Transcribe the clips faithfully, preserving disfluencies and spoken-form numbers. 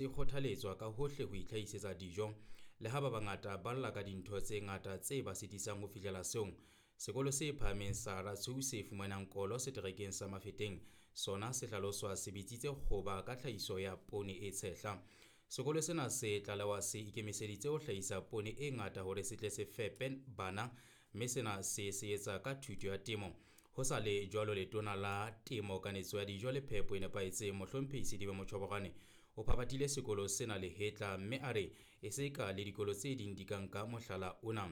Se kgothaletswa ka hohle ho itlhahisetsa dijo. Le ha ba bangata ba lla ka dintho tse ngata tse ba sitisang ho fihlela seong, sekolo se phahameng sa Ratsou se fumanang kolo seterekeng sa Mafeteng sona se hlaloswa se bitsitse kgoba ka tlhahiso ya poone e tshehla. Sekolo sena se tlalewa se ikemiseditse ho hlahisa poone e ngata hore se tle se fepe bana, mme sena se se etsa ka thuto ya temo. Ho sa le jwalo, letona la Temo, Kanetso ya Dijo le Phepo e Nepahetseng, Mohlomphehi Sedibe Motjhobogwane, o phaphathile sekolo sena lehetla mme a re e se ka le dikolo tse ding di ka nka mohlala ona.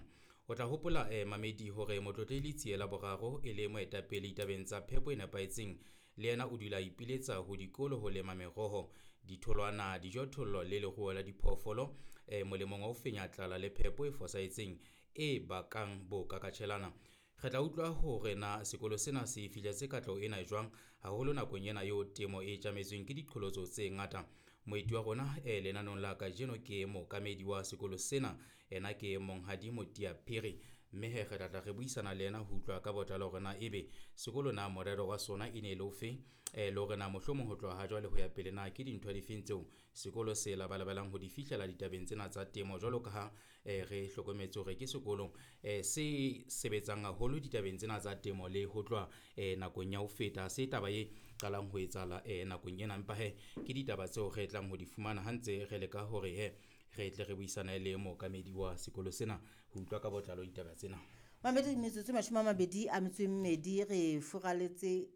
O tla hopola eh, mamedi hore Motlotlehli Letsie Boraro e le moetapele ditabeng tsa phepo e nepahetseng, le yena o dula a ipiletsa ho dikolo ho lema meroho, ditholwana, dijothollo le leruo la diphoofolo eh, molemong wa ho fenya tlala le phepo e fosahetseng e bakang bokakatjhelana. Re tla utlwa hore na sekolo sena se fihletse katleho ena jwang, haholo nakong ena eo temo e tjametsweng ke diqholotso tse ngata. Moeti wa rona eh, lenanong la kajeno ke mookamedi wa sekolo sena, ena ke Monghadi Motia Phiri, mme he re tla tla re buisana le yena ho utlwa ka botlalo hore na ebe sekolo na morero wa sona e ne e le ofe, eh, le hore na mohlomong ho tloha ha jwale ho ya pele na ke dintho difeng tseo sekolo se labalabelang ho di fihlela ditabeng tsena tsa temo, jwalo ka ha eh, re hlokometse hore ke sekolo eh, se sebetsang haholo ditabeng tsena tsa temo le ho tloha eh, nakong ya ho feta. Se taba e qalang ho etsahala eh, nakong ena, empa he ke ditaba tseo re tlang ho di fumana ha ntse re leka hore he re tle re buisane le mookamedi wa sekolo sena ho utlwa ka botlalo ditaba tsena. Mamedi, metsotso e mashome a mabedi a metso e mmedi re furaletse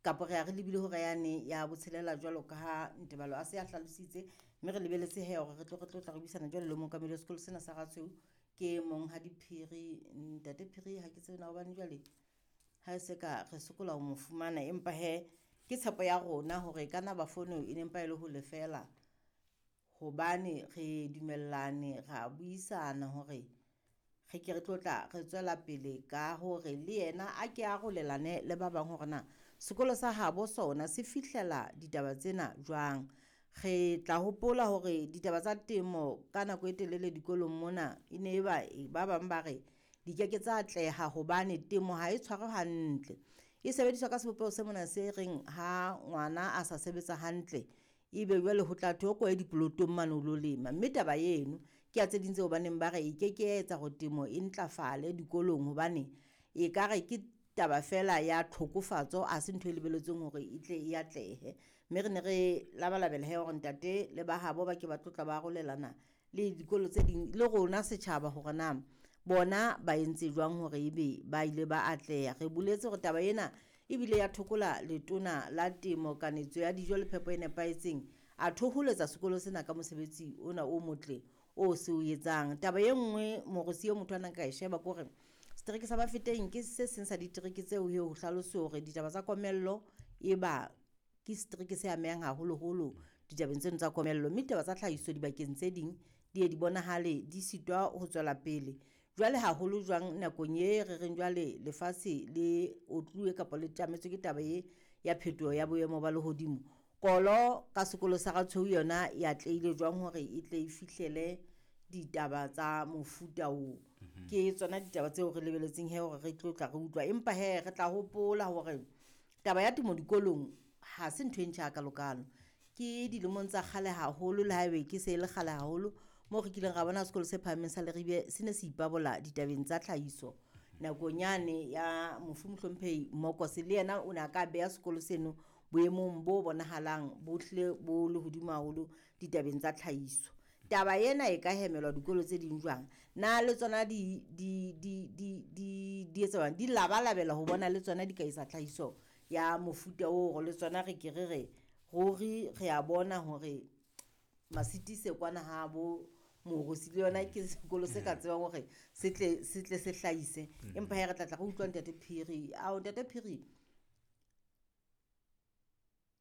kapo re ya re lebile hora yane ya botshelela jwalo ka ha Ntebalo a se a hlalositse, mme re lebeletse he hore re tlo re tlo tla re buisana jwalo le mookamedi wa sekolo sena sa Ratshweu ke Monghadi Phiri. Ntate Phiri, ha ke tsebe na hobane jwale ha e se ka re sokola ho mo fumana, empa he ke tshepo ya rona hore ka na ba fono e ne mpa e le ho lefela, hobane re dumellane ra buisana hore re ke re tlo tla re tswela pele ka hore le yena a ke arolelane le ba bang hore na sekolo sa habo sona se fihlela ditaba tsena jwang. Re tla hopola hore ditaba tsa temo ka nako e telele dikolong mona e ne e ba ba bang ba re di ke ke tsa atleha hobane temo ha e tshwarwe hantle, e sebediswa ka sebopeho se mona se reng ha ngwana a sa sebetsa hantle ebe jwale ho tla thwe o ko ye dipolotong mane o lo lema. Mme taba eno ke ya tse ding tseo baneng ba re e ke ke ya etsa hore temo e ntlafale dikolong, hobane e ka re ke taba fela ya tlhokofatso, ha se ntho e lebelletsweng hore e tle e atlehe. Mme re ne re labalabela he hore ntate le ba habo ba ke ba tlotla ba arolelana le dikolo tse ding le rona setjhaba hore na bona ba entse jwang hore ebe ba ile ba atleha. Re boletse hore taba ena ebile ya thokola letona la Temo, Kanetso ya Dijo le Phepo e Nepahetseng, a thoholetsa sekolo sena ka mosebetsi ona o motle o se o etsang. Taba e nngwe morosi eo motho a nang ka e sheba ke hore setereke sa Bafeteng ke se seng sa ditereke tseo he ho hlaloswe hore ditaba tsa komello e ba ke setereke se amehang haholoholo ditabeng tseno tsa komello, mme ditaba tsa tlhahiso dibakeng tse ding di ye di bonahale di sitwa ho tswela pele. Jwale haholo jwang nakong e re reng jwale lefatshe le otluwe kapa le tjametswe ke taba e ya phetoho ya boemo ba lehodimo, kolo ka sekolo sa Ratshweu yona e atlehile jwang hore e tle e fihlele ditaba tsa mofuta oo? Ke tsona ditaba tseo re lebeletseng he hore re tlo tla re utlwa, empa he re tla hopola hore taba ya temo dikolong ha se ntho e ntjha hakalokalo. Ke dilemong tsa kgale haholo, le haebe ke se e le kgale haholo moo re kileng ra bona sekolo se phahameng sa Leribe se ne se ipabola ditabeng tsa tlhahiso. Nakong yane ya mofu Mohlomphehi Mokose le yena o ne a ka beha sekolo seno boemong bo bonahalang bo hlile bo le hodimo haholo ditabeng tsa tlhahiso. Taba ena e ka hemelwa dikolo tse ding jwang? Na le tsona di di di di di di etsa jwang? Di labalabela ho bona le tsona di ka etsa tlhahiso ya mofuta oo, hore le tsona re ke re re ruri re a bona hore Masitise kwana ha bo Morosi le yona ke sekolo se ka tsebang hore se tle se tle se hlahise. Empa he re tla tla re utlwa Ntate Phiri. Ao Ntate Phiri,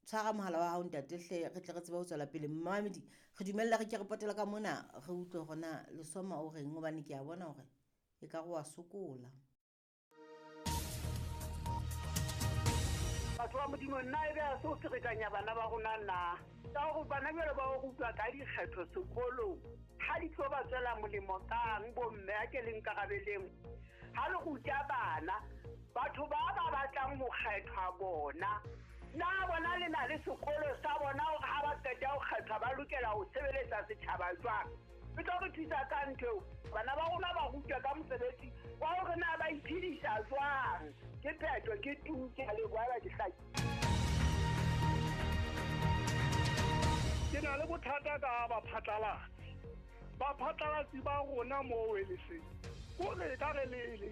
tshwara mohala wa hao ntate hle, re tle re tsebe ho tswela pele. Mmamedi, re dumella re ke re potela ka mona re utlwe hore na Lesoma o reng, hobane ke a bona hore e ka re wa sokola. Batho ba Modimo, nna e be a se o ferekanya bana ba rona na? Ka hore bana jwale ba o rutwa ka dikgetho sekolong, ha di tlo ba tswela molemo kang bomme a ke le nkarabeleng? Ha le ruta bana, batho ba ba batlang ho kgethwa bona, Na bona le na le sekolo sa bona hore ha ba qeta ho kgethwa ba lokela ho sebeletsa setjhaba jwang? E tlo re thusa ka ntho eo. Bana ba rona ba rutwa ka mosebetsi wa hore na ba iphedisa jwang. Ke phetho, ke tu, ke a leboha ba ke hlaki. Ke na le bothata ka baphatlalatsi. Baphatlalatsi ba rona mo Weleseng. Kore ka re le le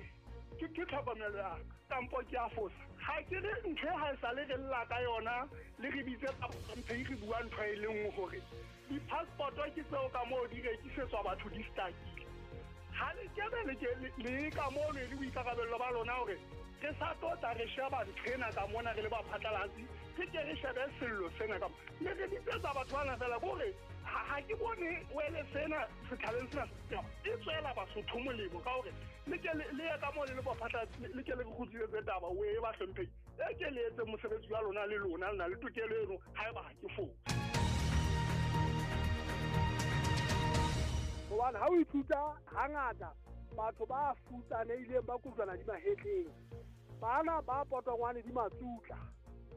ke ke tlhokomelo ya ka, kampo ke a fosa. Ha ke re ntho e ha e sale re lla ka yona, le re bitse mphe re bua ntho e le nngwe hore di-passport-o ke tseo ka moo di rekisetswa batho di stakile. Ha le kebe le ke le ka moo le boikarabello ba lona hore re sa tlo tla re sheba ntho ena ka mona re le baphatlalatsi, re ke re shebe sello sena ka mona. Mme re bitsetsa batho bana fela kore ha ha ke bone wele sena setjhabeng sena e tswela Basotho molemo ka hore le ke le le ye ka moo le le baphatlalatsi, le ke le re kgutlisetse taba o e ba hlomphehi. E ke le etse mosebetsi wa lona le lona le na le tokelo eno haeba ha ke fosa. Hobane ha o ithuta hangata batho ba futsanehileng ba kojwana di mahetleng, bana ba potongwane di matsutla,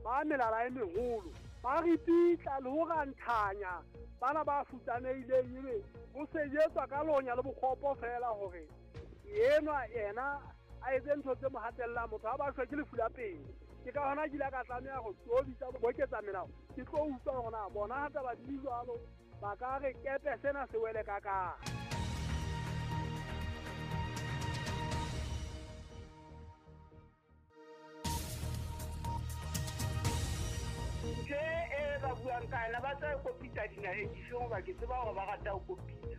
ba melala e meholo, ba ripitla le ho ranthanya bana ba futsanehileng, ebe ho sejetswa ka lonya le bokgopo fela hore enwa yena a etse ntho tse mo hatellang motho ha ba shwe ke lefu la pele. Ke ka hona ke ile ka tlameha ho tobitsa boketsa melao, ke tlo utlwa hore na bona ha taba di jwalo ba ka re kepe sena se wele ka ka. Ntho e ba buang ka yona ba tla kopitsa dinaheng difeng hoba ke tseba hore ba rata ho kopitsa.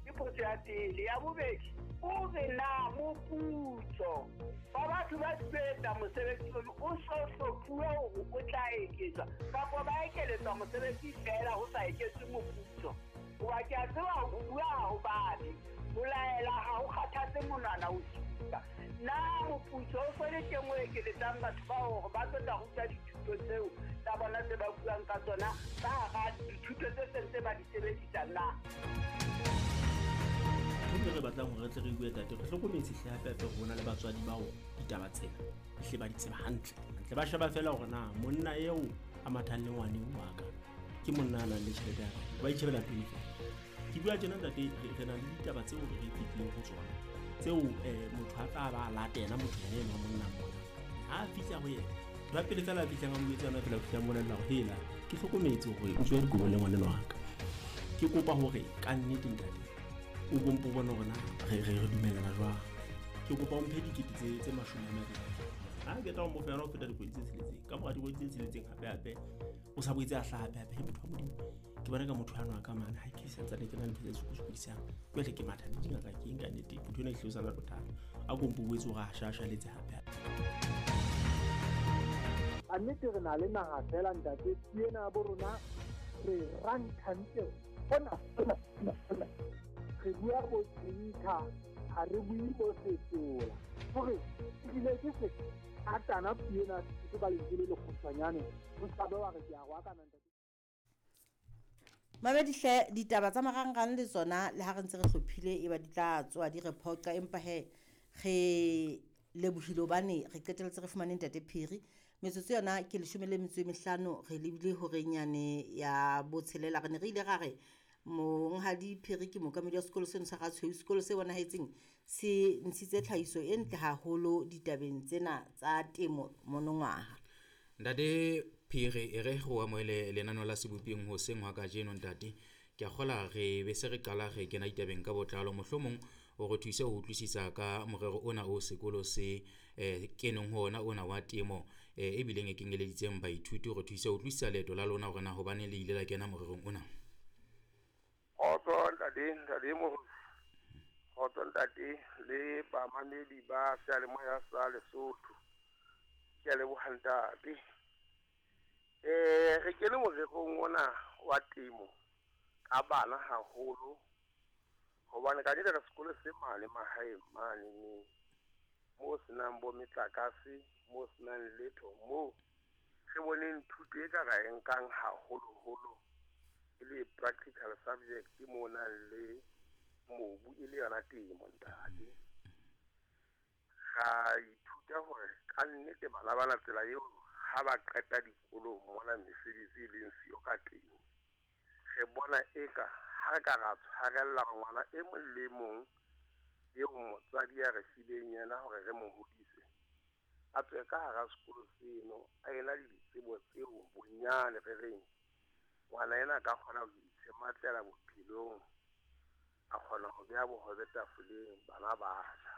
Ke potso ya pele. Ya bobedi, o re na moputso wa batho ba sebetsa mosebetsi ono o so hlophuwe hore o tla eketswa kapa ba ekeletswa mosebetsi feela ho sa eketswe moputso. Hoba ke a tseba ho bua ha ho babe, ho laela ha ho kgathatse monwana o supa. Na moputso o so le teng o ekeletsang batho bao hore ba tlo tla ruta dithuto tseo tsa bona tse ba buang ka tsona ka hara dithuto tse seng tse ba di sebedisang na? Ntho e re batlang hore re tle re bue tate, re hlokometse hle hape hape rona le batswadi bao ditaba tsena hle ba di tseba hantle. Hantle ba sheba fela hore na monna eo a mathang le ngwane wa ka ke monna a nang le tjhelete ya ka, ba itjhebela pele fela. Ke bua tjena ntate, re na le ditaba tseo re fetileng ho tsona tseo eh motho a tla ba latela motho yena enwa monna mona. Ha a fihla ho yena, ba pele fela a fihlang a mo etsa yona fela ho fihla mmolella hore hela ke hlokometse hore o tswe dikobong le ngwaneno wa ka. Ke kopa hore ka nnete ntate o bompo bone hore na re re re dumellana jwang. Ke kopa o mphe dikete tse tse mashome a mabedi. Ha ke tla o mo fa yona ho feta dikgwedi tse tsheletseng. Ka mora dikgwedi tse tsheletseng hape hape o sa boetse a hlaha hape hape. Motho wa Modimo, ke bona ka motho ano a ka mane ha ke santsane ke na le ntho tse sokodisang. Jwale ke matha le dingaka ke eng ka nnete, motho ena e hlosana le bothata. A kompo boetse hore a shashaletse hape hape. A nnete re na le naha fela ntate, ke ena bo rona re ranthantle hona hona hona. Re bua bo tsinka, ha re bue bo setola. Hore ebile ke se atana puo ena ke ba lentswe le lekgutshwanyane, ho sa be wa re ke a go akana ntate. Mamedi hle, ditaba tsa marangrang le tsona le ha re ntse re hlophile e ba di tla tswa di re phoqa, empa he re lebohile hobane re qetelletse re fumane ntate Phiri. Metsotso yona ke leshome le metso e mehlano, re lebile horeng yane ya botshelela. Re ne re ile ra re monghadi Phiri ke mookamedi wa sekolo seno sa Ratshweu, sekolo se bonahetseng se ntshitse tlhahiso e ntle haholo ditabeng tsena tsa temo monongwaha. Ntate Phiri, e re go amohele lenaneo la Sebopeng hoseng hwa kajeno ntate. Ke a kgola re be se re qala re kena ditabeng ka botlalo, mohlomong o re thuse ho utlwisisa ka morero ona o sekolo se eh, keneng ho ona ona wa temo eh, e bileng e kenyeleditseng baithuti, o re thuse ho utlwisisa leeto la lona hore na hobaneng le ile la kena morerong ona. Kgotso ntate, ntate Moruti. Kgotso ntate le bamamedi ba seyalemoya sa Lesotho. Ke a leboha ntate. Eh re kene morerong ona wa temo ka bana haholo hobane ka nnete re sekolo se mane mahaeng mane ne mo senang bo metlakase, mo senang letho, mo re boneng thuto e ka ra e nkang haholoholo e le practical subject mo nang le mobu e le yona temo ntate. Ra ithuta hore ka nnete bana bana tsela eo ha ba qeta dikolong mona mesebetsi e leng siyo ka teng. Re bona eka ha re ka ra tshwarella ngwana e mong le mong eo motswadi a re fileng yena hore re mo hodise, a tswe ka hara sekolo seno a ena le ditsebo tseo bonyane re reng ngwana ena a ka kgona ho itshematlela bophelong, a kgona ho beha bohobe tafoleng bana ba ja.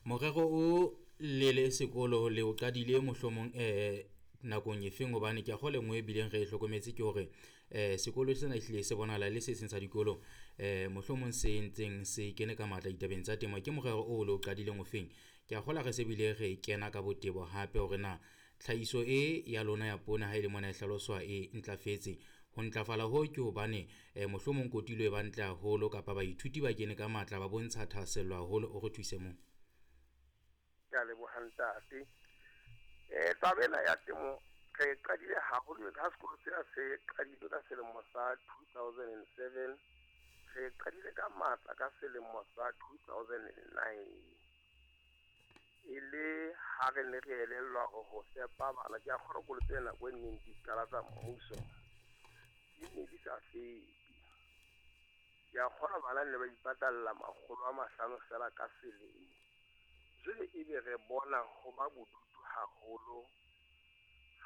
Morero o lele sekolo le o qadile mohlomong eh nakong efeng, hobane ke a kgolwa e nngwe e bileng re e hlokometse ke hore eh sekolo sena ehlile se bonahala le se seng sa dikolo eh mohlomong se ntseng se kene ka matla ditabeng tsa temo. Ke morero o le o qadileng ofeng? Ke a kgolwa re se bile re kena ka botebo hape hore na tlhahiso e ya lona ya poone ha e le mona e hlaloswa e ntlafetse. Ho ntlafala ho ke hobane eh mohlomong kotulo e ba ntle haholo kapa baithuti ba kene ka matla ba bontsha thahasello haholo. O re thuse moo. Ke a leboha ntate. Eh taba ena ya temo re qadile haholo ka sekolo sena se qadile ka selemo sa two thousand and seven, re qadile ka matla ka selemo sa two thousand and nine. E le ha re ne re elellwa hore ho fepa bana, ke a kgolwa kolo tse nako e neng di qala tsa mmuso di ne di sa fepe. Ke a kgolwa bana ne ba ipatalla makgolo a mahlano fela ka selemo. Jwale ebe re bona ho ba bodutu haholo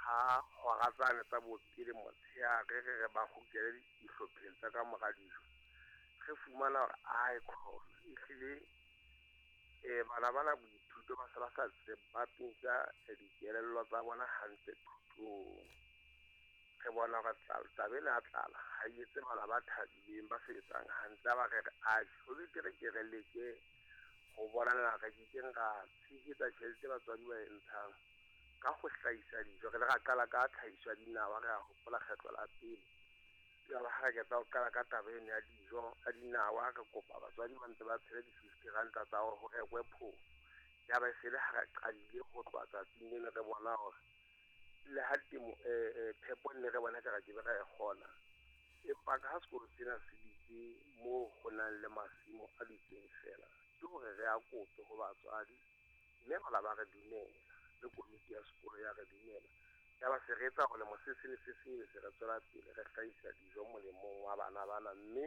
ha hora tsane tsa bopele motshehare re re ba kgutlele dihlopheng tsa ka mora dijo, re fumana hore ae khona ehlile eh bana bana boithuto ba se ba sa tseba pintsha dikelello tsa bona hantle thutong. Re bona hore taba ena ya tlala ha e etse bana ba thabileng ba sebetsang hantle, ba re re atjhe ho betere ke re leke ho bona na re kekeng ra tshehetsa tjhelete batswadi ba e ntshang ka ho hlahisa dijo. Re le ra qala ka tlhahiso ya dinawa, re a hopola kgetlo la pele. Jwale ha re qeta ho qala ka taba ena ya dijo ya dinawa, re kopa batswadi ba ntse ba tshele di-fifty ranta tsa hore ho rekwe phofo. Ya ba e se le ha re qadile ho tloha tsatsing leno re bona hore le ha temo phepo nne re bona ekare ke be ra e kgona, empa ka ha sekolo sena se ditse moo ho nang le masimo a dutseng fela, ke hore re a kope ho batswadi mme bana ba re dumela le komiti ya sekolo ya re dumela. Ya ba se re etsa hore lemo se seng le se seng se re tswela pele re hlahisa dijo molemong wa bana bana. Mme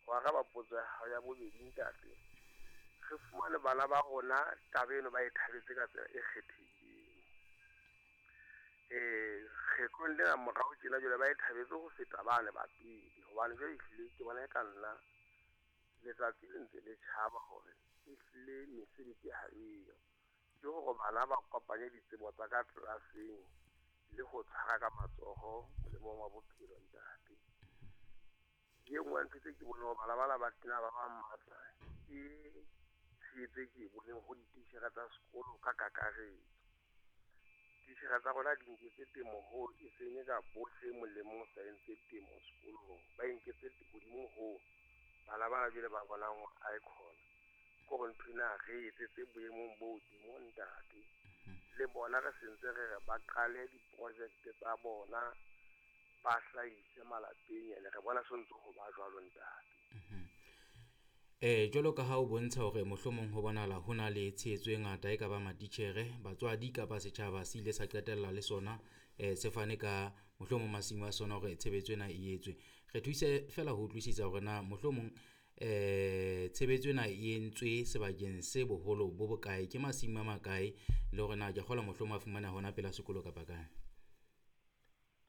ho araba potso ya hao ya bobedi ntate, re fumane bana ba rona taba eno ba e thabetse ka tsela e kgethehileng. Eh kgetlong lena morao tjena jwale ba e thabetse ho feta bane ba pele, hobane jwale ehlile ke bona e ka nna letsatsi le ntse le tjhaba hore ehlile mesebetsi ha eyo. Ke hore bana ba kopanye ditsebo tsa ka tlelaseng le ho tshwara ka matsoho molemong wa bophelo ntate. E nngwe ya ntho tse ke boneng hore bana bana ba tena ba ba matla ke tshehetso e ke e boneng ho dititjhere tsa sekolo ka kakaretso. Dititjhere tsa rona di nketse temo hoo e seng e ka bohle molemong sa entse temo sekolong, ba e nketse hodimo hoo bana bana jwale ba bonang hore ae khona ke hore ntho ena re etsetse boemong bo hodimo ntate. Le bona re sentse re re ba qale diprojekte tsa bona ba hlahise malapeng, ene re bona se ntse ho ba jwalo ntate. Eh jwalo ka ha o bontsha hore mohlomong ho bonahala ho na le tshehetso e ngata e ka ba matitjhere, batswadi kapa setjhaba se ile sa qetella le sona eh se fane ka mohlomong masimo a sona hore tshebetso ena e etswe. Re thuse fela ho utlwisisa hore na mohlomong eh tshebetso ena e entswe sebakeng se boholo bo bokae, ke masimo a makae, le hore na ke kgolwa mohlomong a fumana hona pela sekolo kapa kae.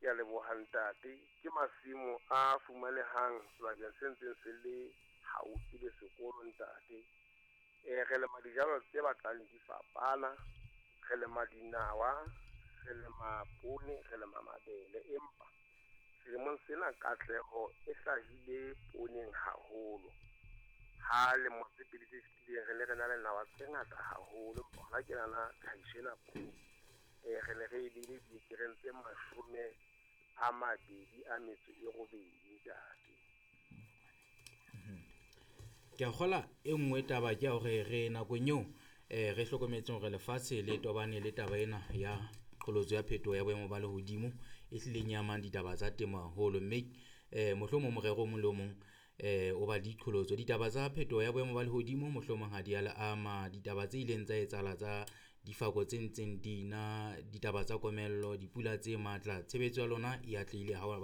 Ke a leboha ntate. Ke masimo a fumanehang sebakeng se ntseng se le haufi le sekolo ntate. Eh re lema dijalo tse batlang di fapana, re lema dinawa, re lema poone, re lema mabele, empa selemong sena katleho e hlahile pooneng haholo. Ha lemo tse pedi tse fetileng re ne re na le nawa tse ngata haholo, empa hona ke nahana tlhahiso ena poone eh re ne re e beile diekereng tse mashome a mabedi a metso e robedi ntate. Ke a kgolwa e nngwe taba ke ya hore re nakong eo eh re hlokometseng hore lefatshe le tobane le taba ena ya qholotso ya phetoho ya boemo ba lehodimo e hlileng e amang ditaba tsa temo haholo, mme eh mohlomong morero o mong le o mong eh o ba diqholotso. Ditaba tsa phetoho ya boemo ba lehodimo mohlomong ha di a le ama, ditaba tse ileng tsa etsahala tsa difako tse ntseng di na, ditaba tsa komello, dipula tse matla, tshebetso ya lona e atlehile ha